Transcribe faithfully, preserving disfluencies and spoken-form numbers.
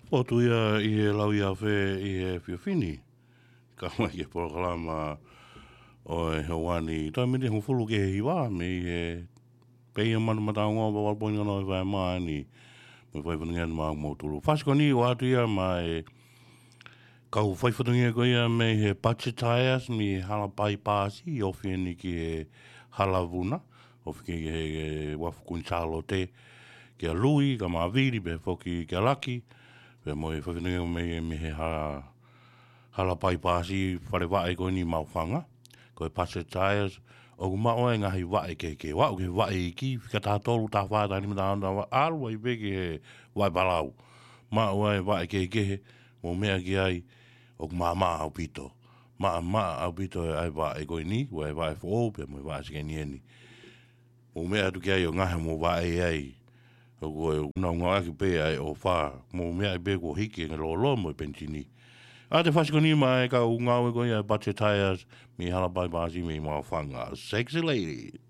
Potu ia ʻi he lau ia fē ʻi he efiafi ni. Ka mai ki he polokalama ʻo e houa ni. Toe miniti hongofulu ki he hiva, mei he pē ia manu mataongo, valu poini ono ʻi he vahe mā ni. Mo e fai fatongia ni maʻa mo tulu. Fasi ko eni ʻoatu ia maʻa e kau fai fatongia ko ia mei he Budget Tires, mei Halapai Paasi, ofi eni ki he Halavuna, ofi ki he, he Uafu Kuini Sālote, kia Lui, ka Mavili, pea foki kia Laki, pea mo e fai fatongia mei, mei he ha, Halapai Paasi, fale vaʻe ko eni Maʻufanga, ko e Budget Tires, ʻoku maʻu ai e ngaahi vaʻe kehekehe, ʻo aʻu ki he vaʻe iiki, fika taha tolu, taha fā, taha nima, taha ono, taha valu, ʻalu ai pē ki he vaʻe palau. Maʻu ai e vaʻe kehekehe, mou meʻa ki ai, ʻoku maʻamaʻa ʻaupito. Maʻamaʻa ʻaupito ʻa e vaʻe ko eni, ʻa e vaʻe foʻou, pea mo e vaʻe sekeni eni. Mou meʻa atu ki ai ʻo ngaohi hoʻomou vaʻe ai. ʻOku ʻi ai, ʻoku nau ngāueʻaki pē ʻa e ʻofa. Mou meʻa ai pē kuo hiki e lolo mo e penisini. ʻA e fasi ko eni maʻa e kau ngāue ko ia ʻa e Budget Tires, mei Halapai Paasi mei Maʻufanga. Sexy lady.